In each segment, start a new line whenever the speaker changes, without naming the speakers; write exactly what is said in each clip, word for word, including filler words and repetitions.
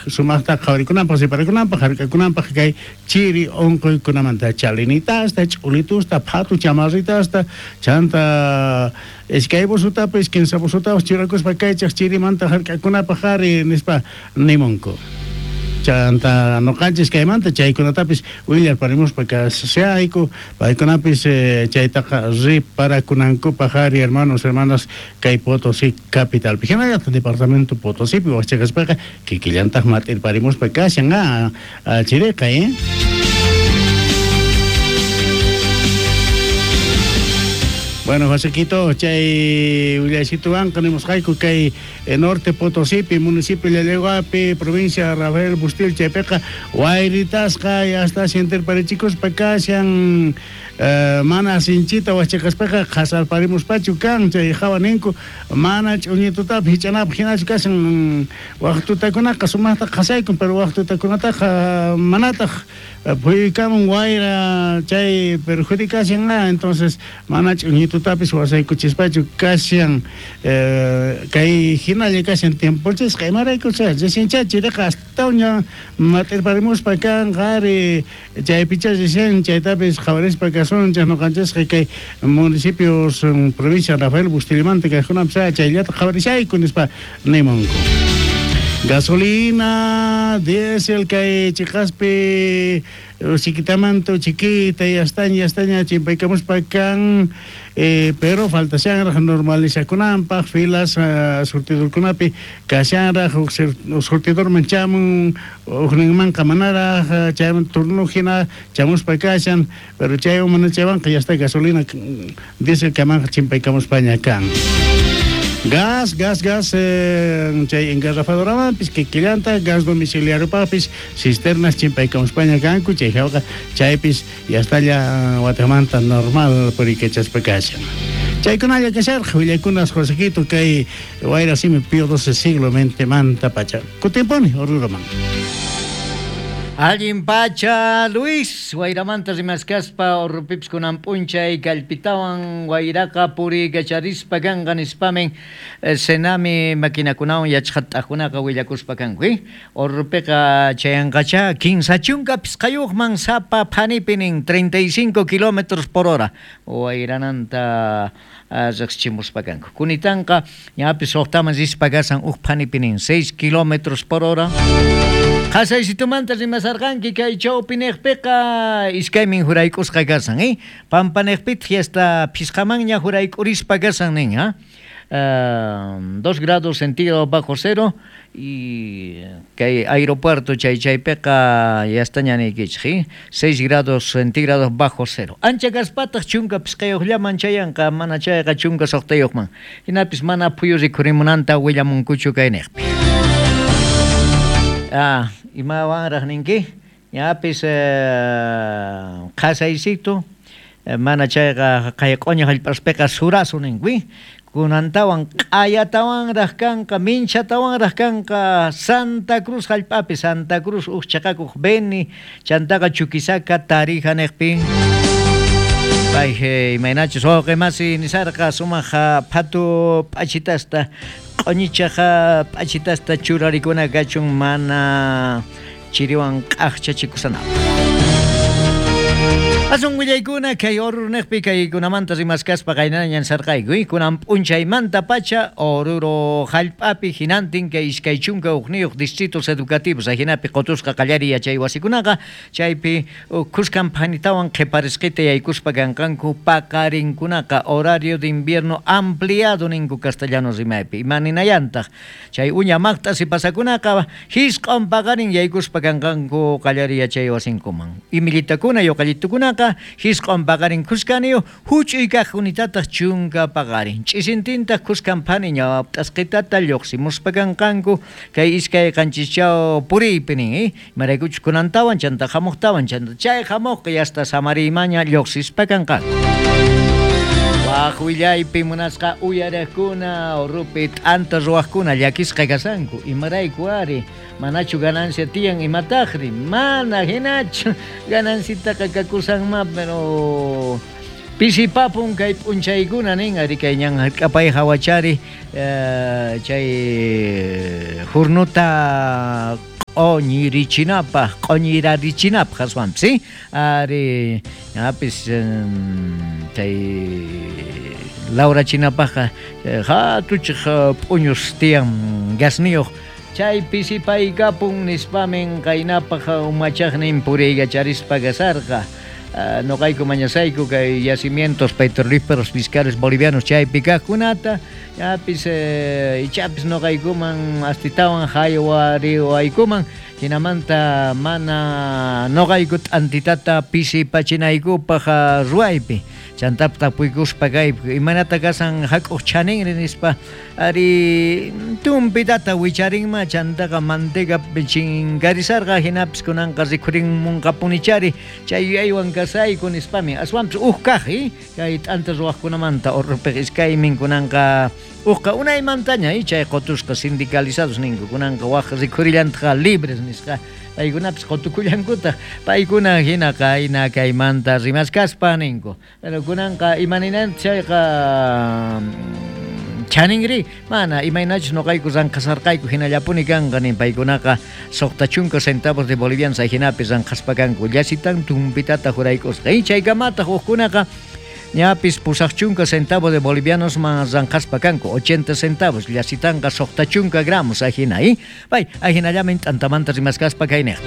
sumaqta qhawarikunanpaq riparakunanpaq hark'akunanpaq kay chiri unquykunamanta chalinitasta ch'ulitusta phatu chamarritasta chanta iskay busutapis kinsa busutapis churakuspa kaychaq chirimanta hark'akunapaq ari nispa nimunku. Chanta noqanchis kaymanta chaykunatapis willarparimuspa kasayku paykunapis eh, chaytaqa riparakunankupaq ari hermanos hermanas kay Potosí capitalpi hinallataq departamento Potosípi waqchaqaspaqa kikillantaq mat'irparimuspa kashan ah, chiriqa eh. Bueno, Josequito, chay willasituwanqa nimusqayku kay norte Potosípi, municipio Llallagüapi, provincia Rafael Bustil, chaypiqa wayritasqa hasta sintirparichikuspa kashan eh, mana sinchita wachaqaspaqa qhasarparimuspachu kan chay hawa ninku mana ch'uñitutapi hich'anapaq hinachu kashan waq tutakunaqa sumaqta qhasaykun pero waq tutakunataqa manataq phuykamun wayra chay perjudicashan entonces mana ch'uñitutapis wasaykuchispachu kashan eh, kay hinalla kashan tiempochisqa imaraykucha reciencha chiriqa astawanña mat'irparimuspa kan qhari chaypicha recién chaytapis qhawarispa kasunchik ñuqanchisqa kay municipios provincia Rafael Bustilmanta kaykunapis chayllata qhawarishayku nispa nimunku. Gasolina, diésel kay chiqaspi chiquitamanto chiquita y astaña astaña chimpaykamuspa kan eh, pero faltashanraj normalizakunanpaq filas uh, surtidorkunapi kashanraj huk surtidorman chamun hukninmanqa manaraj chayman turno hina chamuspa kashan pero chaywan mana chaywanqa ya está gasolina diésel kamanqa chimpaykamuspaña kan. Gas, gas, gas, eh, chay engarrafadoramanpis kikillanta, gas domiciliariopaqpis, cisternas chimpaykamuspaña kanku, chay hawqa chaypis yastalla watamanta normal purikachaspa kashan. Chaykunalla kasharqa willaykunas Josequito kay wayra simi Pío doce siglo mentemanta pacha. Kutimpuni Oruroman.
Allin pacha Luis, wayramanta rimaskaspa urrupipis kunan p'unchay kallpitawan wayraqa puriykacharispa kanqa nispamin Senami maquinakunawan yachaqat'akunaqa willakuspa kanku eh? Urrupiqa chayanqacha kinsa chunka pisqayuqman sapa phanipi nin treinta y cinco kilómetros por hora wayrananta riqsichimuspa kanku. Kunitanqa ñapis suqtaman rispa kasan uj phanipi nin seis kilómetros por hora. Qhasaysitumanta rimasarqanki kay chawpiniqpiqa iskaymin jurayk'usqa kasan eh? Pampaniqpitaq hasta phisqamanña jurayk'urispa kasan nin ha? Uh, dos grados centígrados bajo cero y kay aeropuerto chay chaypiqa yastaña niykichik eh? seis grados centígrados bajo cero. Ancha kaspataq chunka pisqayuqllaman chayanqa mana chayqa chunka suqtayuqman. Hinapis mana phuyu rikhurimunanta willamunkuchu kayniqpi. Ah, imawanraq ninki ñapis eh, qhasaysitu mana chayqa kay q'uña hallp'aspiqa surasu ninki kunantawan q'ayatawanraq kanqa minchatawanraq kanqa Santa Cruz hallp'api Santa Cruz uj chaqakuq Beni chantaqa Chuquisaca Tarija niqpi. Pay imaynachus wawqi masi nisarqa sumaq phatu p'achitasta q'uñichaqa p'achitasta churarikuna kachun mana chiriwan q'aqchachikusanaqa. Asun willaykuna kay Oruro niqpi kaykunamanta rimaskaspa qaynañan sarqayku kunan p'unchaymanta pacha Oruro hallp'api hinantin kay iskay chunka hukniyuq distritos educativos ahinapi qutusqa qallariy yachay wasikunaqa chaypi khuskan phanitawan qhiparisqita yaykuspa kanqanku paqarinkunaqa horario de invierno ampliado ninku castellano rimaypi imaninayantaq chay uña maqt'asi pasakunaqa hisq'un paqarin yaykuspa kanqanku qallariy yachay wasinkuman imillitakuna yuqallitukunaqa hisq'un paqarin khuskaniyu huch'uy kaq unitataq chunka paqarin ch'isintintaq khuskan phani ñawp'tasqitata lluqsimuspa kanqanku kay iskay qanchischaw puriypi nin eh? Imaraykuchus kunantawan chanta hamuqtawan chanta chay hamuqqa yasta samariymaña lluqsispa kanqanku. Waq willaypi munasqa uyariqkuna Urupi t'anta ruwaqkuna llakisqa kasanku imarayku ari manachu ganancia tiyan imataqri mana hinachu ganancitaqa kakusanma pero pisipapun kay p'unchaykuna nin ari kay ñan hark'apay hawachari eh, chay jurnuta q'oñirichinapaj q'oñirarichinapaj aswanpis ¿sí? Ari ñapis chay lawrachinapajqa hatuchej p'uñus tiyan gasniyuq chay pisipaykapun nispamin qaynapaj umachaqnin puriykacharispa kasarqa. Noqayku mañasayku kay yacimientos petrolíferos fiscales bolivianos chaypi kaqkunata ñapis ichapis noqaykuman astitawan haywariwaykuman hinamanta mana noqayku t'antitata pisipachinaykupaj ruwaypi chantap tapuykuspa kay imanata kasan hak'uq chaninri nispa ari tumpitata wicharinma chantaqa manteca chinkarisarqa hinapis kunanqa rikhurinmunqapunichari chay yuyaywan kasayku nispami aswanpis uj kaq kay t'anta ruwaqkunamanta Orrupej iskaymin kunanqa ujqa unaymantaña chay qotusqa sindicalizados ninku kunanqa waj rikhurillantaqa libres nisqa paykunapis qotukullankutaq paykuna hina qayna kaymanta rimaskaspa ninku pero kunanqa imaninanta chayqa chaninri mana imaynachus noqayku ranqasarqayku hinallapuni kanqa nin paykunaqa suqta chunka centavos de bolivianos hinapi ranqaspa kanku llasitan tumpitata juraykusqa y chaykamataq hukkunaqa ñapis pusaq chunka centavos de bolivianos man ranqaspa kanku ochenta centavos llasitanqa suqta chunka gramos ajina y pay ajinallamin t'antamanta rimaskaspa kayniqpi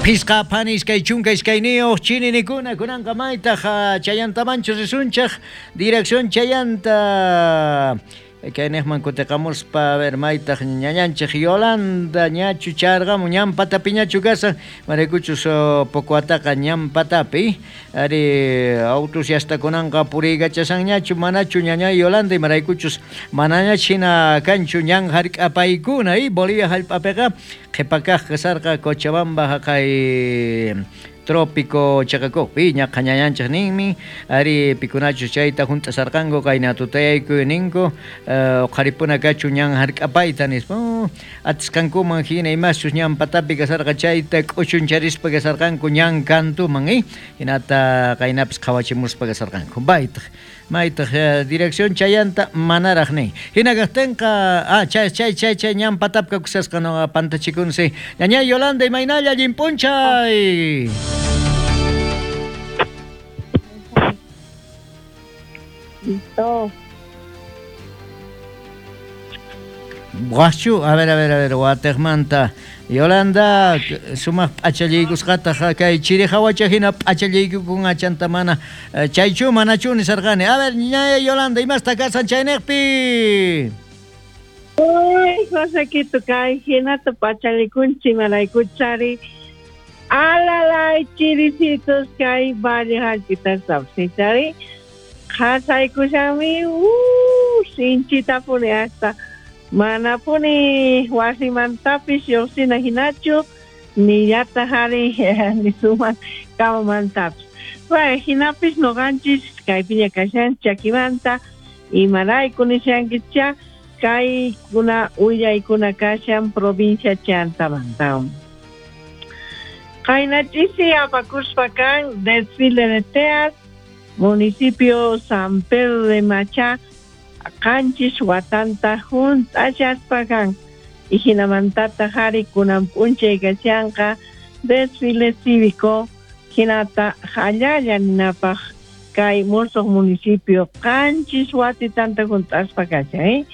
Pisqa phani iskay chunka iskayniyuq chininikuna kunanqa maytaq chayantamanchu risunchaq dirección chayanta kayniqman kutiqamuspa a ver maytaq ñañanchik Yolanda ñachu charqamun ñan patapiñachu kasan maraykuchus Pocoataqa ñan patapi ari autos yastakunanqa puriykachasanñachu manachu ñañay Yolanda imaraykuchus manañach hina kanchu ñan hark'apaykuna y Bolivia hallp'apiqa qhipakaq kasarqa Cochabamba haqay trópico chaqakuqpi ñaqa ñañanchik ninmi ari pikunachus chayta hunt'asarqanku qayna tutayayku ninku uqharipuna kachu ñan hark'apayta nispa atisqankuman hina imaschus ñan patapi kasarqa chayta k'uchuncharispa kasarqanku ñan kantuman eh hinata qaynapis qhawachimuspa kasarqanku baytaq maytaq dirección chayanta manaraq nin hina kaqtinqa ah chay chay chay chay ñan patapka kusasqa no pantachikunsi ñañay Yolanda imaynalla allin p'unchay.
Listo.
Guachu, a ver, a ver, a ver, watejmanta. Yolanda, sumaq p'achallaykusqataq kay chiri hawacha hina p'achallaykukun achanta mana chaychu manachu nisarqani. A ver, ñaña Yolanda, imasta kasan chayniqpi?
Uy, Josequito, kay hinata p'achallikunchik maraykuchari. Alalay chiricitos kay valle hallp'itas sapsichari. Qhasaykushami, uh, sinchitapuni hasta manapuni wasimantapis lluqsina hinachu nillataq ari nisuman kamamantapis. Bueno, hinapis noqanchis kaypiña kashan chakimanta imarayku nishankicha kaykuna willaykuna kashan provincia Chantamanta. Qaynachisi apakuspa kan desfile de teas municipio San Pedro de Macha qanchis watanta hunt'achaspa kan y hinamantata hari kunan p'unchay kashanqa desfile cívico hinata hallalla ninapaj kay musuq municipio qanchis watitanta hunt'aspa kashan eh?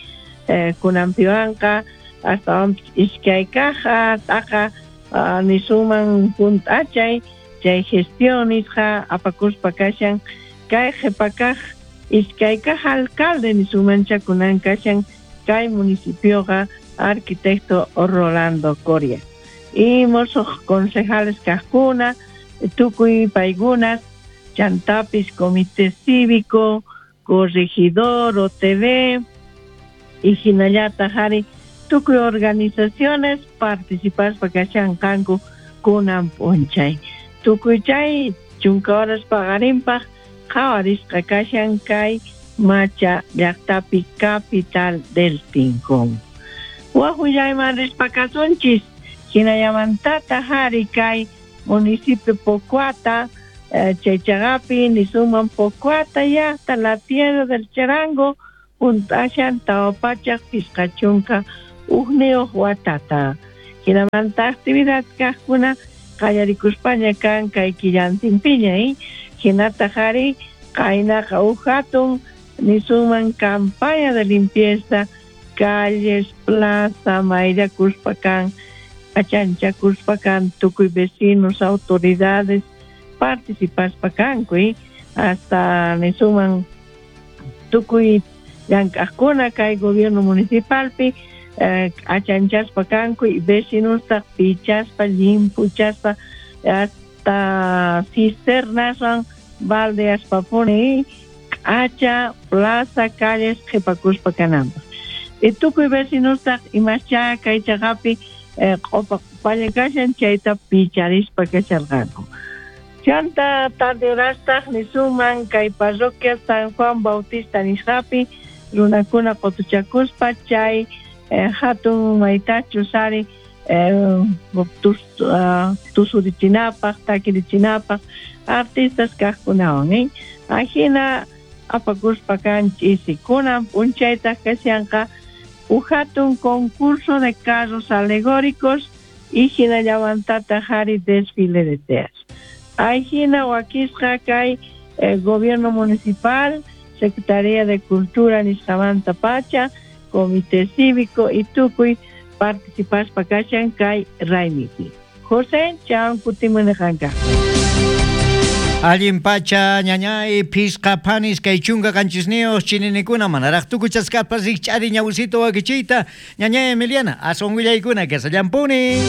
Eh, kunanpiwanqa astawanpis iskay kaq t'aqa uh, nisuman hunt'achay chay gestión nisqa apakuspa kashan kay qhipakaq iskay kaq alcalde nisumancha kunan kashan kay municipioqa arquitecto Rolando Coria y musuq concejales kaqkuna tukuy paykunas chantapis comité cívico corregidor O T V y hinallataq ari tukuy organizaciones participaspa kashan kanku kunan p'unchay tukuy chay chunka horas paqarinpaq qhawarisqa kashan kay Macha llaqtapi capital del Tincón. Waj willayman rispa kasunchis hinallamantata hari kay municipio Pocoata eh, chaychaqapi nisuman Pocoata llaqta la tierra del charango hunt'ashan tawa pachaq pishqa chunka ujniyuq watata. Hinamanta actividad kaqkuna qallarikuspaña kan kay killantinpiña, eh? Hinataq ari qaynaqa huk hatun nisunman campaña de limpieza calles, plaza, mayllakuspa kan, achanchakuspa kan, tukuy vecinos, autoridades participaspa kanku, eh? Hasta nisuman tukuy llank'aqkuna kay gobierno municipalpi eh, achanchaspa kanku y vecinostaq pichaspa, llimpuchaspa hasta cisternaswan baldeaspapuni k'acha plaza, calles qhipakuspa kananpaq. Y tukuy vecinostaq imascha kay chaqapi eh, q'upa q'upalla kashan chayta picharispa kasharqanku. Chanta tarde horastaq nisuman kay parroquia San Juan Bautista nisqapi runakuna qutuchakuspa chay eh, hatun maytachus ari eh, tus, uh, tusurichinapaq, takirichinapaq artistas kaqkunawan, eh? Ajina apakuspa kan ch'isi. Kunan p'unchaytaq kashanqa huk hatun concurso de carros alegóricos y hinallamantataq ari desfile de teas. Ajina wakisqa kay eh, gobierno municipal, Secretaría de Cultura nisqamanta pacha, Comité Cívico y tukuy participaspa kashan kay raymipi. José, chan kutimunaqanka.
Allin pacha ñañay pisqa panis kay chunka qanchisniyuq chininikuna manaraq tukuchasqapas rikch'ari ñawsito wakichiyta ñañay Emiliana aswan willaykuna kasallampuni.